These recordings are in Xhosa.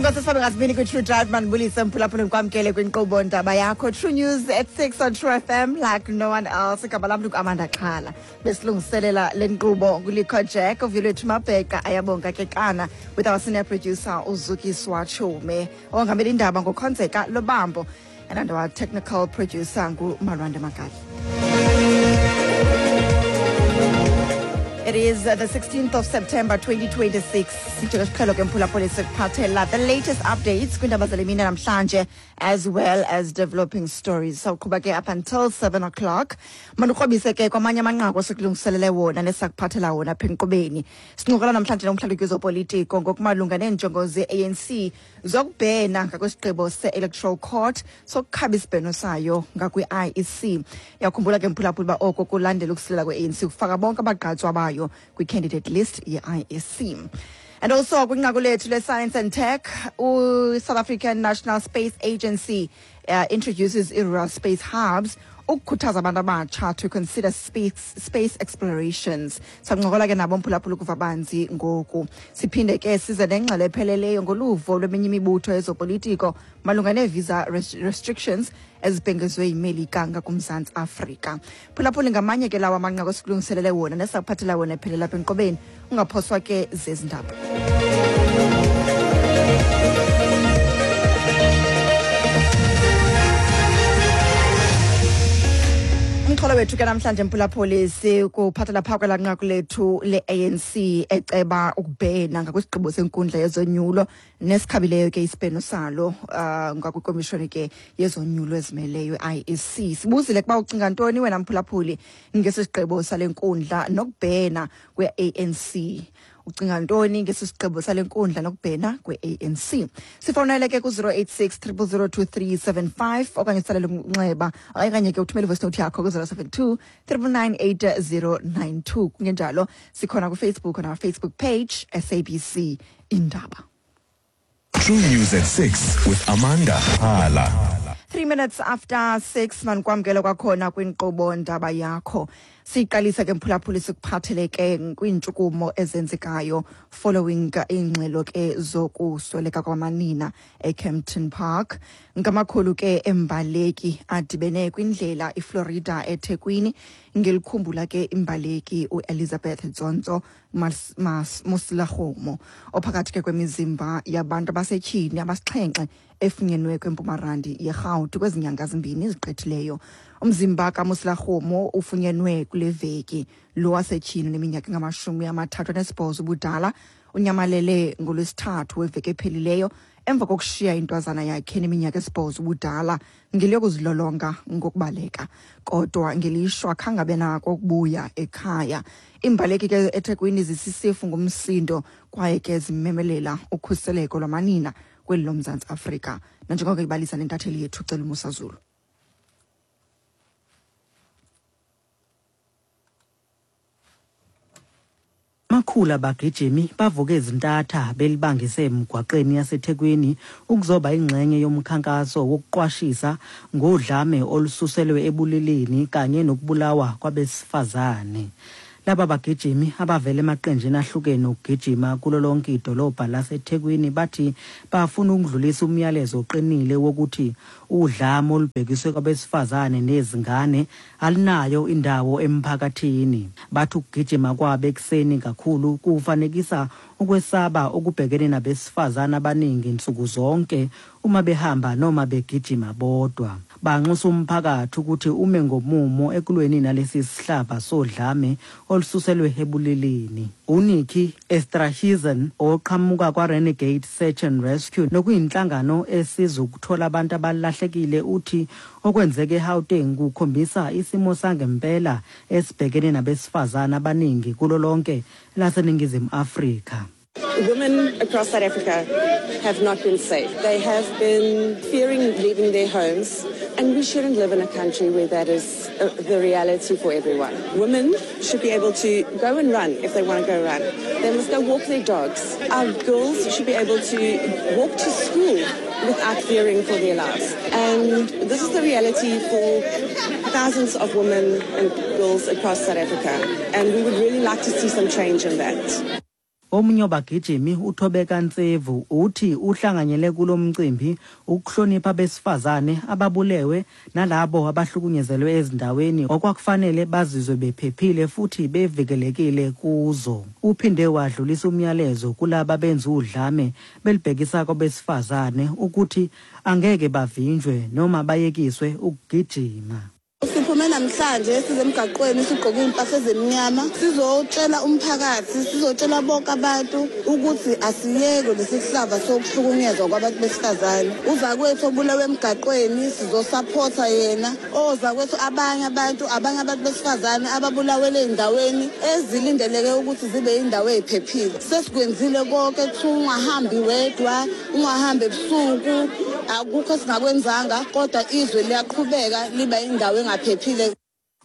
Inkosi sifabe ngasibini kwi-True Drive. Mandibulise mphulaphula, ndikwamkele kwinkqubo Ndaba Yakho, True News at 6 on True FM like no one else. Igama lam ndinguAmanda Xhala. Besilungiselela le nkqubo nguLikho Jack, uVuyolwethu Mabheka, Ayabonga Kekana, with our senior producer uZukiswa Chume. Ongamela indaba ngoKhonzeka Lobambo, and our technical producer nguMalwande Makali. It is the 16th of September 2026. Njengesiqhelo ke mphulaphuli, sikuphathela the latest updates kwiindaba zale mini namhlanje, as well as developing stories. Sawuqhuba ke up until 7 o'clock. Mandikrobise ke kwamanye amanqaku esikulungiselele wona nesakuphathela wona apha enkqubeni. Sincokola namhlanje nomhlalutyi wezopolitiko ngokumalunga neenjongo ze-ANC zokubhena ngakwisigqibo se-Electoral Court sokukhaba isibheno sayo ngakwi-IEC. Yakhumbula ke mphulaphula uba oko kulandela ukusilela kwe-ANC ukufaka bonke abagqatswa bayo kwi-candidate list ye-IEC. And also kwinqaku lethu le-Science and Tech, u-South African National Space Agency introduces i-rural space hubs ukukhuthaza abantu abatsha to consider space explorations. Sancokola ke nabo mphulaphula ukuva banzi ngoku. Siphinde ke size nengxelo epheleleyo ngoluvo lweminye imibutho yezopolitiko malunga nee-visa restrictions ezibhengezwe yiMelika ngakuMzantsi Afrika. Phulaphula, ngamanye ke lawo amanqaku esikulungiselele wona nesakuphathela wona ephelela apha enkqubeni. Ungaphoswa ke zezi ndaba. Umxholo wethu ke namhlanje mphulaphuli, sikuphathela phaa kwelaa nqaku lethu le-ANC eceba ukubhena ngakwisigqibo senkundla yezonyulo nesikhabileyo ke isibheno salo ngakwikomishoni ke yezonyulo ezimeleyo, i-IEC. Sibuzile kuba ucinga ntoni wena mphulaphuli ngesi sigqibo sale nkundla nokubhena kwe-ANC. Ucinga ntoni ngesi sigqibo sale nkundla nokubhena kwe-ANC? Sifowunele ke ku-086 0002375 okanye utsalele umnxeba okanye ke uthumele ivoice note yakho ku-072 9998092. Kungenjalo sikhona kuFacebook, on our Facebook page, SABC Indaba. True News at 6 with Amanda Hala. 3 minutes after 6, manikwamkele kwakhona kwinkqubo Ndaba Yakho. Siyiqalisa ke mphulaphuli sikuphathele ke kwiintshukumo ezenzekayo following iingxelo ke zokusweleka kwamanina eKempton Park. Ngamakhulu ke embaleki adibene kwindlela iFlorida eThekwini ngelikhumbula ke imbaleki uElizabeth Tsontso Moselakgomo, ophakathi ke kwemizimba yabantu abasetyhini abasixhenxe efunyenwe kwempumarandi yeRhawuti kwezi nyanga zimbini zigqithileyo. Umzimba kaMoselakgomo ufunyenwe kule veki. Lo wasetyhini neminyaka engama-38 ubudala unyamalele ngoLwesithathu weveki ephelileyo emva kokushiya intwazana yakhe neminyaka 8 ubudala ngeliyokuzilolonga ngokubaleka, kodwa ngelishwa khange abe nako ukubuya ekhaya. Iimbaleki ke eThekwini zisisifu ngumsindo kwaye ke zimemelela ukhuseleko lwamanina kweli loMzantsi Afrika, nanjengoko ibalisa nentatheli yethu Celumusa Zulu. Amakhulu abagijimi bavuke ezintatha belibangise emgwaqeni yaseThekwini ukuzoba ingxenye yomkhankaso wokuqwashisa ngodlame olususelwe ebulilini kanye nokubulawa kwabesifazane. Laba bagijimi abavela emaqenjini ahlukene okugijima kulo lonke idolobha laseThekwini bathi bafuna ukudlulisa umyalezo oqinile wokuthi udlame olubhekiswe kwabesifazane nezingane alinayo indawo emphakathini. Bathi ukugijima kwabo ekuseni kakhulu kufanekisa ukwesaba okubhekene nabesifazane abaningi nsuku zonke uma behamba noma begijima bodwa. Banxusa umphakathi ukuthi ume ngomumo ekulweni nalesi sihlava sodlame olususelwe ebulilini. UNikki Esterhuizen oqhamuka kwa-Renegade Search and Rescue, nokuyinhlangano esiza ukuthola abantu abalahlekile, uthi okwenzeke eGauteng kukhombisa isimo sangempela esibhekene nabesifazane abaningi kulo lonke laseNingizimu Afrika. Women across South Africa have not been safe. They have been fearing leaving their homes, and we shouldn't live in a country where that is the reality for everyone. Women should be able to go and run if they want to go run. They must go walk their dogs. Our girls should be able to walk to school without fearing for their lives. And this is the reality for thousands of women and girls across South Africa. And we would really like to see some change in that. Omunye wabagijimi, uThobeka Ntsevu, uthi uhlanganyele kulo mcimbi ukuhlonipha abesifazane ababulewe nalabo abahlukunyezelwe ezindaweni okwakufanele bazizwe bephephile futhi bevikelekile kuzo. Uphinde wadlulisa umyalezo kulaba benza udlame belibhekisa kwabesifazane ukuthi angeke bavinjwe noma bayekiswe ukugijima. Siphume namhlanje size emgaqweni sigqoke iy'mpahla ezimnyama, sizotshela umphakathi, sizotshela bonke abantu ukuthi asiyeke lesi sihlava sokuhlukunyezwa kwabantu besifazane. Uzakwethu obulewe emgaqweni sizosaphotha yena, ozakwethu abanye abantu, abanye abantu besifazane ababulawele ey'ndaweni ezilindeleke ukuthi zibe yindawo ey'phephile. Sesikwenzile konke, kuthiwa ungahambi wedwa, ungahambi ebusuku, akukho esingakwenzanga, kodwa izwe liyaqhubeka liba indawo engaphephile.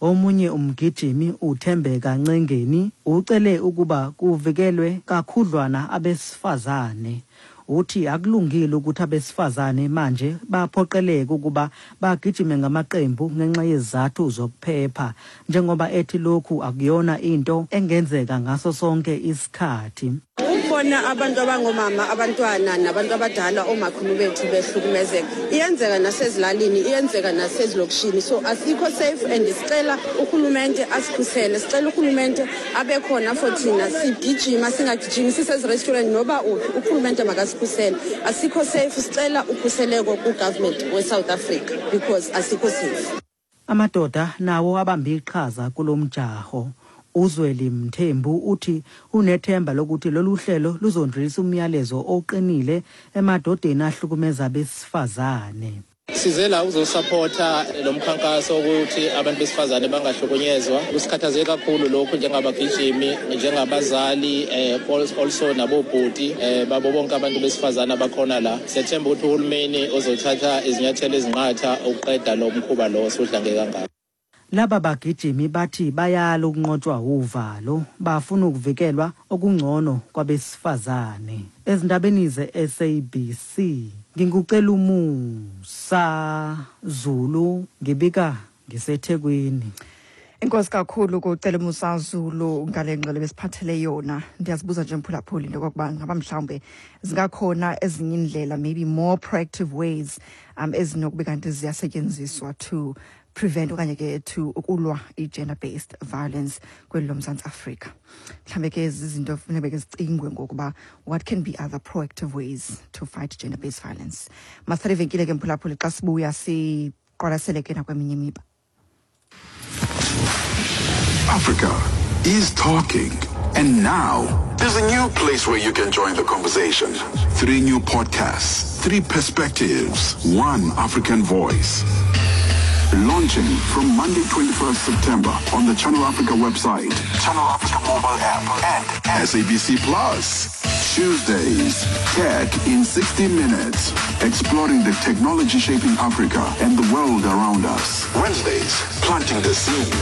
Omunye umgijimi, uThembeka Ncengeni, ucele ukuba kuvikelwe kakhudlwana abesifazane. Uthi akulungile ukuthi abesifazane manje baphoqeleke ukuba bagijime ngamaqembu ngenxa yezizathu zokuphepha, njengoba ethi lokhu akuyona into engenzeka ngaso sonke isikhathi. Ukubona abantu abangomama, abantwana nabantu abadala, omakhulu bethu behlukumezeka, iyenzeka nasezilalini, iyenzeka nasezilokishini, so asikho safe and sicela urhulumente asikhusele, sicela urhulumente abe khona for thina. Sigijima, singagijimi, sisezi-restaurant noba uphi, urhulumente makasikhusele. Asikho safe, sicela ukhuseleko ku-government we-South Africa because asikho safe. Amadoda nawo abambe iqhaza kulo mjaho. Uzweli Mthembu uthi unethemba lokuthi lolu hlelo luzondlulisa umyalezo oqinile emadodeni ahlukumeza abesifazane. Size la ukuzosaphotha lo mkhankaso ukuthi abantu besifazane bangahlukunyezwa. Kusikhathaze kakhulu lokhu njengabagijimi, njengabazali, also nabobhuti babo bonke abantu besifazane abakhona la. Siyathemba ukuthi uhulumeni uzothatha izinyathelo ezinqatha ukuqeda lo mkhuba lo osudlange kangaka. Laba bagijimi bathi bayala ukunqotshwa uvalo, bafuna ukuvikelwa okungcono kwabesifazane. Ezindabeni ze-SABC, ngingucela umusa Zulu, ngibika ngiseThekwini. Enkosi kakhulu kucela Musa Zulu ngale ngxelo besiphathele yona. Ndiyazibuza nje, mphulaphuli, into yokokuba ngaba mhlawumbe zingakhona ezinye indlela, maybe more proactive ways ezinokube kanti ziyasetyenziswa to prevent okanye ke to ukulwa i-gender based violence kweli loMzantsi Afrika. Mhlawumbe ke zizinto funeka ke zicingwe ngokuba what can be other proactive ways to fight gender based violence. Masithathe ivenkile ke, mphulaphuli, xa sibuya siqwalasele ke nakweminye imiba. Africa is talking. And now, there's a new place where you can join the conversation. Three new podcasts, three perspectives, one African voice. Launching from Monday, 21st September on the Channel Africa website, Channel Africa mobile app, and SABC Plus. Tuesdays, Tech in 60 Minutes, exploring the technology shaping Africa and the world around us. Wednesdays, planting the seed,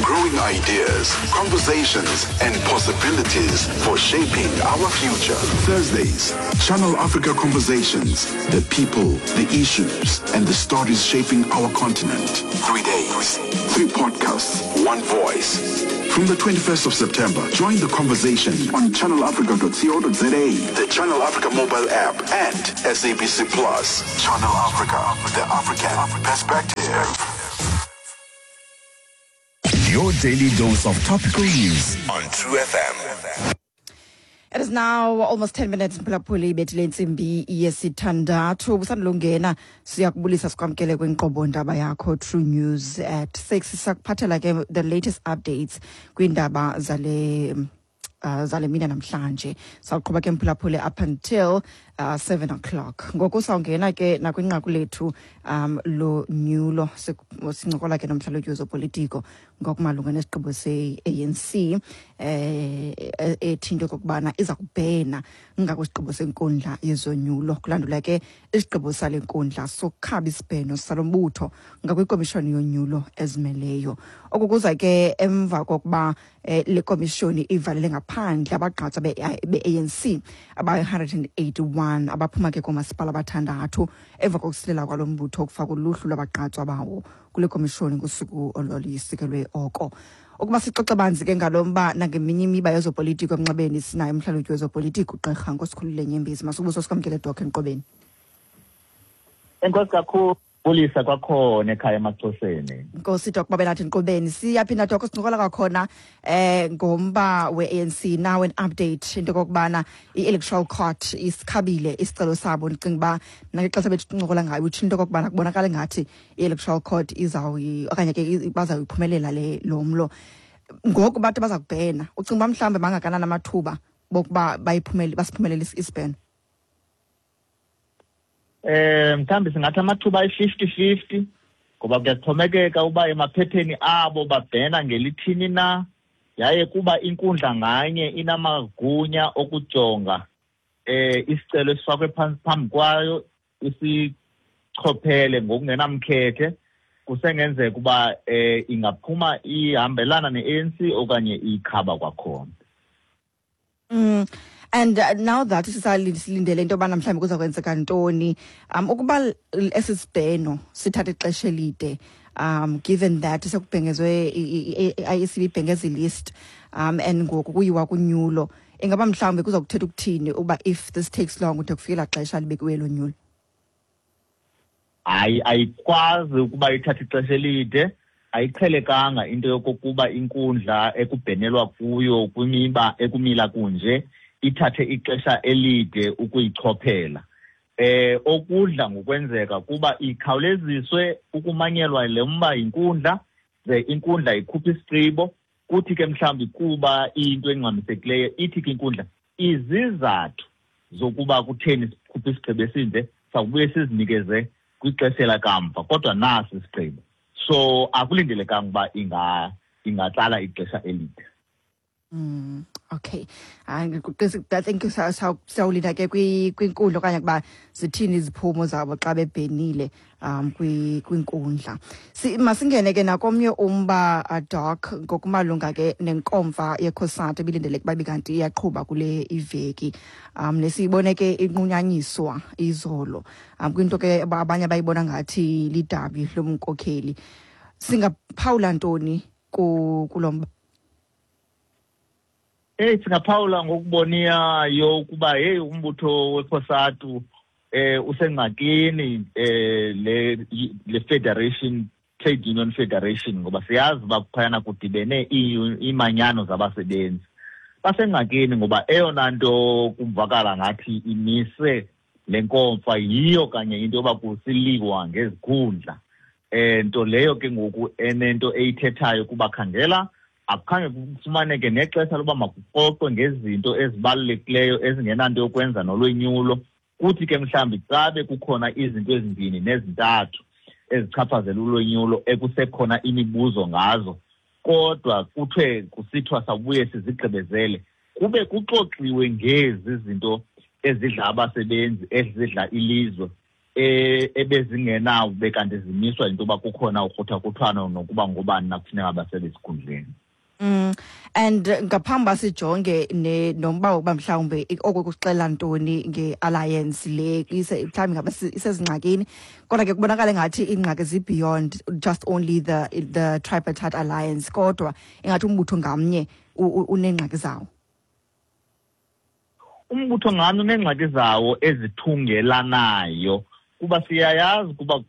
growing ideas, conversations, and possibilities for shaping our future. Thursdays, Channel Africa Conversations, the people, the issues, and the stories shaping our continent. 3 days, three podcasts, one voice. From the 21st of September, join the conversation on channelafrica.co.za, the Channel Africa mobile app, and SABC Plus. Channel Africa, the African perspective. Your daily dose of topical news on True FM. It is now almost 10 minutes, mphulaphuli, ibethile intsimbi yesithandathu. Busandulungena, siyakubulisa, sikwamkele kwinkqubo ndaba yakho True News at 6. Sakuphathela ke the latest updates kwiindaba zale mina namhlanje. Sawuqhuba ke, mphulaphuli, up until 7 o'clock. Ngoku sawungena ke nakwinqaku lethu lonyulo. Sincokola ke nomhlalutyi wezopolitiko ngokumalunga nesigqibo se-ANC ethi into okokubana iza kubhena ngakwisigqibo senkundla yezonyulo, kulandula ke isigqibo sale nkundla sokukhaba isibheno salo mbutho ngakwikomishoni yonyulo ezimeleyo. Oku kuza ke emva kokuba le komishoni ivalele ngaphandle abagqatswa be-ANC abayi-181. 41 abaphuma ke koomasipala abathandathu emva kokusilela kwalo mbutho ukufaka uluhlu lwabagqatswa bawo kule komishoni ngosuku olwalusikelwe oko. Ukuba sixoxe banzi ke ngalo mba nangeminye imiba yezopolitiko emnxebeni, sinayo umhlalutyi wezopolitiko, uGqirha Nkosikhulule Nyembezi. Masubuso, sikwamkele, Doc, enkqubeni. Enkosi kakhulu, bulisa kwakhona ekhaya emaXhoseni. Nkosi, Doc, babe nathi enkqubeni. Siyaphinda, Doc, sincokola kwakhona ngomba we-ANC. Now an update into kokubana i-Electoral Court isikhabile isicelo sabo. Ndicinga uba nangexesha bethu sincokola ngayo utsho into kokubana kubonakala ngathi i-Electoral Court izawuyi okanye ke bazawuyiphumelela le lo mlo. Ngoku bathi baza kubhena. Ucinga uba mhlawumbe bangakanani amathuba bokuba bayiphumele, basiphumelele isibheno? Mhlawumbi singathi amathuba ayi-50-50, ngoba kuyaxhomekeka uba emaphepheni abo babhena ngelithini na, yaye kuba inkundla nganye inamagunya okujonga isicelo esifakwe phantsi phambi kwayo, isichophele ngokungenamkhethe. Kusengenzeka uba ingaphuma ihambelana ne-ANC okanye ikhaba kwakhona. And now that sisalindele into yobana mhlawumbi kuza kwenzeka ntoni, ukuba esi sibheno sithatha ixesha elide, given that sekubhengezwe, i-IEC ibhengeza i-list, and ngoku kuyiwa kunyulo, ingaba mhlawumbi kuza kuthetha ukuthini uba if this takes long ude kufikela xesha libekiweyo lonyulo? Hayi, ayikwazi ukuba ithathe ixesha elide. Ayiqhelekanga into yokokuba inkundla ekubhenelwa kuyo kwimiba ekumila kunje ithathe ixesha elide ukuyichophela. Okudla ngokwenzeka kuba ikhawuleziswe ukumanyelwa le mba yinkundla, ze inkundla ikhuphe isigqibo. Kuthi ke mhlawumbi kuba iyinto engxamisekileyo, ithi ke inkundla izizathu zokuba kutheni sikhuphe isigqibo esinje sawubuye sizinikeze kwixesha lakamva, kodwa nasi isigqibo. So akulindelekanga uba ingatsala ixesha elide. Okay. Hayi, I think sawulinda ke kwinkundla okanye kuba zithini iziphumo zabo xa bebhenile kwinkundla. Masingene ke nakomnye umba, Doc, ngokumalunga ke nenkomfa yeCOSATU ebilindeleke uba kanti iyaqhuba kule iveki. Nesiyibone ke inqunyanyiswa izolo. Kwinto ke abanye abayibona ngathi lidabi lobunkokheli. Singaphawula ntoni kulo mba? Hey, singaphawula ngokuboniyayo ukuba hey, umbutho weCOSATU usengxakini, le federation, Trade Union Federation, ngoba siyazi uba phayana kudibene iimanyano zabasebenzi. Basengxakini ngoba eyona nto kuvakala ngathi imise le nkomfa yiyo kanye into yoba kusiliwa ngezikhundla, nto leyo ke ngoku enento eyithethayo kuba khangela akukhange kufumaneke nexesha loba makuxoxwe ngezinto ezibalulekileyo ezingenanto yokwenza nolwenyulo. Kuthi ke mhlawumbi cabe kukhona izinto ezimbini nezintathu ezichaphazela ulwenyulo ekusekhona imibuzo ngazo, kodwa kuthiwe kusithiwa sawubuye sizigqibezele kube kuxoxiwe ngezi zinto ezidla abasebenzi, ezidla ilizwe, ebezingenawo kanti zimiswa yinto yoba kukhona ukruthakruthwano nokuba ngobani nakufuneka basebe esikhundleni. And ngaphambi uba sijonge nomba wokuba mhlawumbe oko kuxela ntoni nge-alliance le mhlawumbi ngaba isezingxakini, kodwa ke kubonakala ngathi iingxaki zi-beyond just only the tripartite alliance, kodwa ingathi umbutho ngamnye uneengxaki zawo. Umbutho ngamnye uneengxaki zawo ezithungelanayo, kuba siyayazi kuba